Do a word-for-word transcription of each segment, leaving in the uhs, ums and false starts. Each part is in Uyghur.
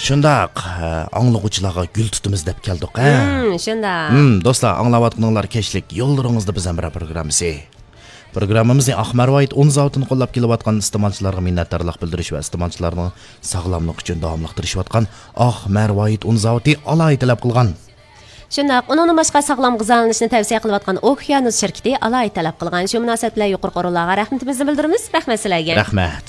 شۇنداق، ئاڭلىغۇچىلارغا گۈل تۇتىمىز دەپ كەلدۇق، ھە؟ ھىم، شۇنداق. ھىم، دوستلار، ئاڭلاۋاتقىنىڭلار كەچلىك يوللىرىڭىزدا بىز ھەمراھ پروگراممىسى. پروگراممىمىزنى ئاق مەرۋايىت ئۇن زاۋۇتىنى قوللاپ كېلىۋاتقان ئىستېمالچىلارغا مىننەتدارلىق بىلدۈرۈش ۋە ئىستېمالچىلارنىڭ ساغلاملىقى ئۈچۈن داۋاملىق تىرىشىۋاتقان ئاق مەرۋايىت ئۇن زاۋۇتى ئالاھىدە تەلەپ قىلغان. شۇنداق، ئۇنىڭدىن باشقا ساغلام غىزالىنىشنى تەۋسىيە قىلىۋاتقان ئوكيانۇس شىركىتى ئالاھىدە تەلەپ قىلغان. شۇ مۇناسىۋەت بىلەن يۇقىرىقى ئورۇنلارغا رەھمىتىمىزنى بىلدۈرىمىز. رەھمەت سىلەرگە. رەھمەت.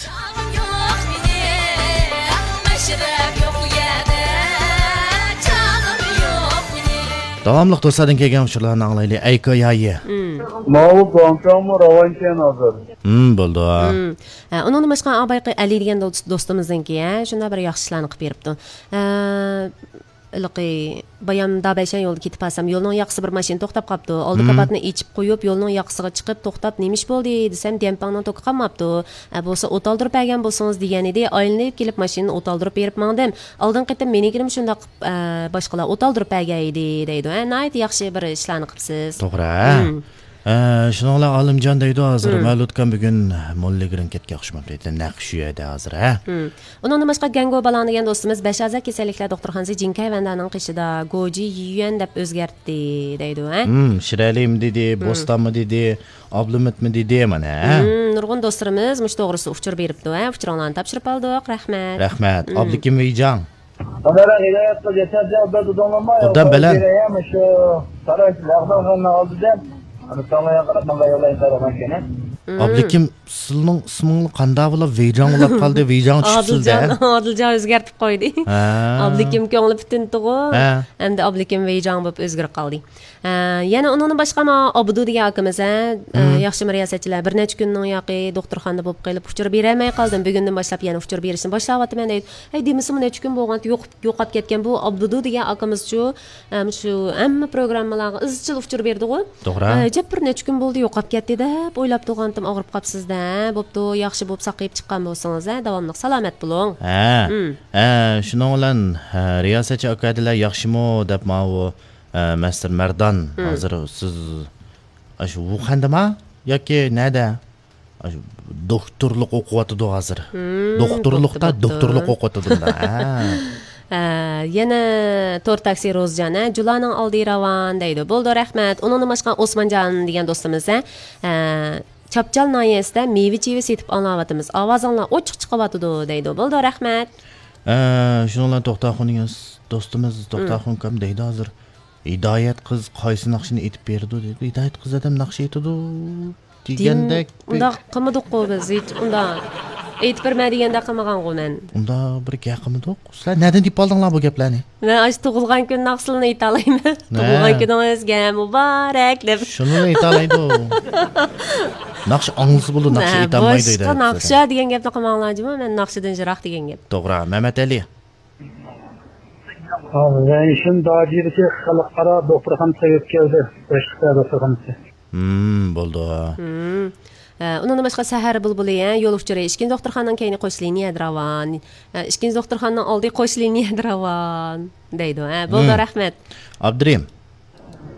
داۋاملىق دوستلاردىن كەلگەن ئۇچۇرلارنى ئاڭلايلى. ئەيكا يايى. مم. ماۋۇ گۇاڭچاڭمۇ راۋانكەن ھازىر. مم، بولدى. مم. ھە، ئۇنىڭدىن باشقا ئابايقى ئەلى دېگەن دوست-، دوستىمىزنىڭكى، ھە، شۇنداق بىر ياخشى ئىشلارنى قىلىپ بېرىپتۇ. ھە، ھېلىقى بايام دابەيشەن يولىدا كېتىپ بارسام، يولنىڭ ياقىسى بىر ماشىنا توختاپ قاپتۇ. ئالدى مم. كاپاتنى ئېچىپ قويۇپ، يولنىڭ ياقىسىغا چىقىپ توختاپ، نېمە ئىش بولدى دېسەم، ديەنپاڭنىڭ توكى قالماپتۇ. ئە، بولسا ئوت ئالدۇرۇپ بەرگەن بولسىڭىز دېگەن ئىدى. ئايلىنىپ كېلىپ ماشىنىنى ئوت ئالدۇرۇپ بېرىپ ماڭدىم. ئالدىنقى قېتىم مېنىڭكىنىمۇ شۇنداق قىپ، ئە، باشقىلار ئوت ئالدۇرۇپ بەرگەن ئىدى دەيدۇ. ئە، ناھايىتى ياخشى بىر ئىشلارنى قىپسىز. توغرا. مم. ئە، شۇنىڭ بىلەن ئالىمجان دەيدۇ، ھازىر مم. مەۋلۇتكام بۈگۈن موللىگرىنكېتكە ئوخشىماپتۇ دەيدۇ. نەق شۇ يەردە ھازىر، ھە؟ مم. ئۇنىڭدىن باشقا گەڭگو بالاڭ دېگەن دوستىمىز بەش ئەزا كېسەللىكلەر دوختۇرخانىسى جىنكەي ۋەندانىڭ قېشىدا گوجى يۈەن دەپ ئۆزگەرتتى دەيدۇ، ھە؟ مم، شىرئەلىمۇ دېدى، مم. بوستانمۇ دېدى، ئابلىمىتمۇ دېدى، مانا، ھە؟ مم، نۇرغۇن دوستلىرىمىز مۇشۇ توغرىسىدا ئۇچۇر بېرىپتۇ، ھە؟ ئۇچۇرۇڭلارنى تاپشۇرۇپ ئالدۇق، رەھمەت. رەھمەت. مم. ئابلىكىم ۋېيجاڭ. ئۇدام بەلەن. مم. ئابلىكىم، سىلنىڭ ئىسمىڭلار قانداق بولۇپ ۋېيجاڭ بولۇپ قالدى؟ ۋېيجاڭ چۈشۈپ سىزدە. ئادىلجان، ئادىلجان ئۆزگەرتىپ قويدى. ھە. ئابلىكىم كۆڭلى پۈتۈندىغۇ. ھە. ئەمدى ئابلىكىم ۋېيجاڭ بولۇپ ئۆزگىرىپ قالدى. ھە، يەنە ئۇنىڭدىن باشقا مانا ئابدۇ دېگەن ئاكىمىز، ھە، ئە، مم. ياخشىمۇ رىياسەتچىلەر، بىر نەچچە كۈننىڭ ياقى دوختۇرخانىدا بولۇپ قېلىپ ئۇچۇر بېرەلمەي قالدىم. بۈگۈندىن باشلاپ يەنە ئۇچۇر بېرىشنى باشلاۋاتىمەن دەيدۇ. ھەي، دېمىسىمۇ نەچچە كۈن بولغانتى يوق-، يوقاپ كەتكەن بۇ ئابدۇ دېگەن ئاكىمىزچۇ، ھە، مۇشۇ ھەممە پروگراممىلارغا ئىزچىل ئۇچۇر بېرىدىغۇ. توغرا. ئە، ئەجەب بىر نەچچە كۈن بولدى يوقاپ كەتتى دەپ ئويلاپ تۇرغانتىم، ئاغرىپ قاپسىز دە، بوپتۇ، ياخشى بولۇپ ساقىيىپ چىققان بولسىڭىز، ھە، داۋاملىق سالامەت بولۇڭ. ھە. مم. ھە، شۇنىڭ بىلەن، ھە، رىياسەتچى ئاكا دېلە ياخشىمۇ دەپ ماۋۇ ئە، مەستۇر مەردان، مم. ھازىر سىز ئاشۇ ۋۇخەندىما ياكى نەدە؟ ئاشۇ دوكتورلۇق ئوقۇۋاتىدۇ ھازىر. مم، دوختۇرلۇقتا، بوپتۇ، بوپتۇ. دوكتورلۇق ئوقۇۋاتىدۇ مۇنداق. ھە. ئە، يەنە تور تاكسى روزجان، ھە، جۇلانىڭ ئالدى راۋان دەيدۇ. بولدى، رەھمەت. ئۇنىڭدىن باشقا ئوسمانجان دېگەن دوستىمىز، ھە، ئە، چاپچال ناھىيەسىدە مېۋە-چېۋە سېتىپ ئاڭلاۋاتىمىز. ئاۋازىڭلار ئوچۇق چىقىۋاتىدۇ دەيدۇ. بولدى، رەھمەت. ئە، شۇنىڭ بىلەن توختاخۇن دېگەن دوستىمىز، مم. توختاخۇن ئاكام دەيدۇ ھازىر. ھىدايەت قىز قايسى ناخشىنى ئېيتىپ بېرىدۇ دەيدۇ. ھىدايەت قىز ئادەم ناخشا ئېيتىدۇ دېگەندەك بىر ئۇنداق قىلمىدۇققۇ بىز، ھېچ ئۇنداق ئېيتىپ بەرمە دېگەندەك قىلمىغانغۇ مەن. ئۇنداق بىر گەپ قىلمىدۇق. سىلەر نەدىن تېپىپ ئالدىڭلار بۇ گەپلەرنى؟ مەن ئاشۇ تۇغۇلغان كۈن ناخشىلىرىنى ئېيتالايمەن. نە؟ تۇغۇلغان كۈنىڭىز مۇبارەك دەپ. شۇنىلا ئېيتالايدۇ. ناخشا ئاڭلىسا بولىدۇ، ناخشا نە، ئېيتالمايدۇ باشقا دەيدۇ. ناخشا دېگەن گەپنى قىلماڭلار جۇمۇ، مەن ناخشىدىن يىراق دېگەن گەپ. توغرا، مەمەتئەلى. ھازىر شىنجاڭ داجىدىكى خەلقئارا دوختۇرخانىسىغا يۆتكەپ كەلدى. باشقا دوختۇرخانىسى. ھىم، بولدى. ھىم. ئە، ئۇنىڭدىن باشقا سەھەر بۇلبۇلى، ھە، يول ئۇچۇرى، ئىككىنچى دوختۇرخانىنىڭ كەينى قوش لىنىيەدە راۋان. ئە، ئىككىنچى دوختۇرخانىنىڭ ئالدى قوش لىنىيەدە راۋان دەيدۇ. ھە، بولدى، ھىم. رەھمەت. ئابدۇرېھىم.